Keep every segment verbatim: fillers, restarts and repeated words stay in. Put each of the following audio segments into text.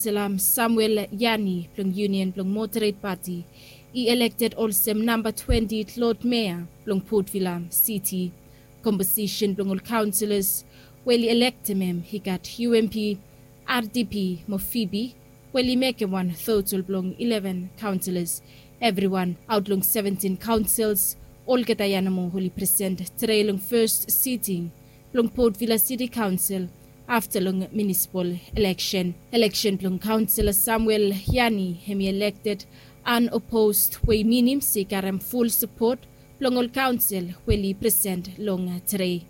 Salam Samuel Yani blong Union blong Moderate Party i elekted olsem namba twenti Lord Mayor blong Port Vila City. Komposisen blong ol kaonselas we oli elektem hem i gat U M P, R D P mo F I B I, we oli mekem wan total blong eleven kaonselas. Evriwan aot long seventin kaonsels, olgeta ya nomo oli present tede long fes siting blong Port Vila City Council afta long munisipal eleksen. Eleksen blong kaonsela Samuel Yani hemi elekted unopposed, we i minim se i karem ful sapot blong ol kaonsel we oli present long tede.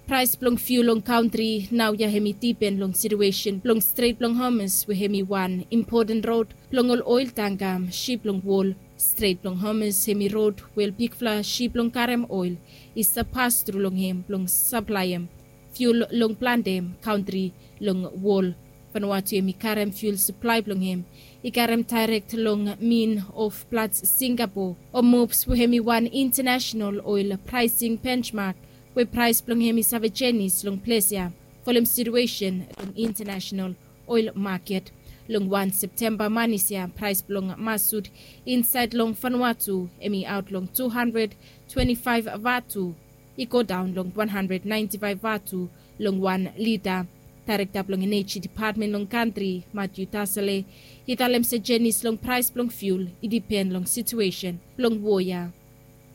Praes blong fiul long kantri naoia hemi dipen long situesen blong Stret blong Hormuz, we hemi wan impoten rod blong ol oel tangka, sip blong wol. Stret blong Hormuz hemi rod we ol bigfala sip blong karem oel i save pas tru long hem blong saplaem fiul long plante kantri long wol. Vanuatu hemi karem fiul saplae blong hem i karem daerek long Min of Platts, Singapore, Hormuz, we hemi wan intanasenal oel praesing benchmark, we praes blong hem i save jenis long ples ya folem situesen long intanasenal oel maket. Long wan Septemba manis ya, praes blong masut insaed long Vanuatu hemi aot long tu handred twenti faef vatu, i godaon long wan handred naenti faef vatu long wan lita. Daerekta blong Eneji Depatmen long kantri, Matthew Tasale, i talem se jenis long praes blong fiul i dipen long situesen blong wo ya.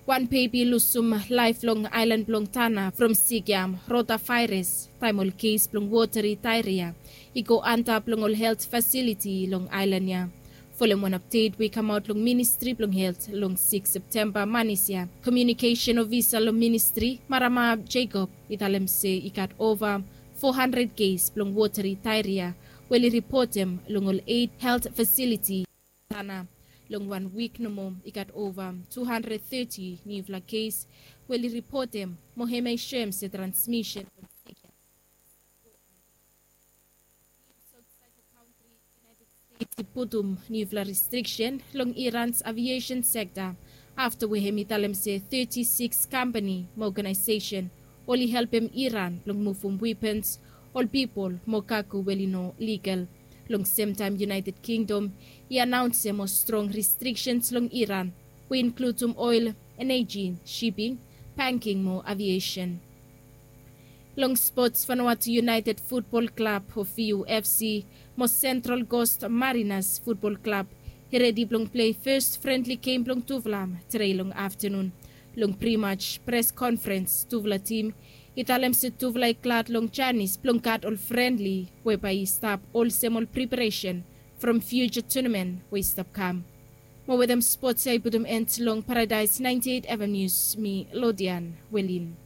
Wan bebi i lusum laef long aelan blong Tanna from sik ya, rotafaeras, taem ol kes blong woteri daeria i go antap long ol helt fasiliti long aelan ya. Folem wan apdet we i kamaot long Ministri blong Helt long sikis Septemba manis ya, komiunikesen ofisa long ministri, Marama Jacob, i talem se i gat ova fo handred kes blong woteri daeria we oli ripotem long ol eit helt fasiliti. Tanna, long wan wik nomo i gat ova tu handred teti niufala kes we oli ripotem, mo hemia i soem se transmisen blong sik ya. Nius aotsaed long kantri. United States i putum niufala restriksen long Iran's aviation sekta afta we hemi talem se teti sikis kampani mo ogenaesesen oli helpem Iran blong muvum wepens, ol pipol mo kago we oli no ligal. Long semtaem United Kingdom i anaonsem mo strong restriksens long Iran we i inkludum oel, eneji, siping, banking mo aviation. Long spots, Vanuatu United Futbol Klab o V U F C mo Central Coast Mariners Futbol Klab i redi blong plei fes frendli gem blong tufala tede long aftanun. Long primatch pres konfrens tufala tim i talem se tufala i glad long janis blong gat ol frendli we bae i stap olsem ol preparesen from fiuja tunamen we i stap kam. Mo wetem spots ya i putum en long Paradaes naenti eit Eva Nius, mi Lodian Welin.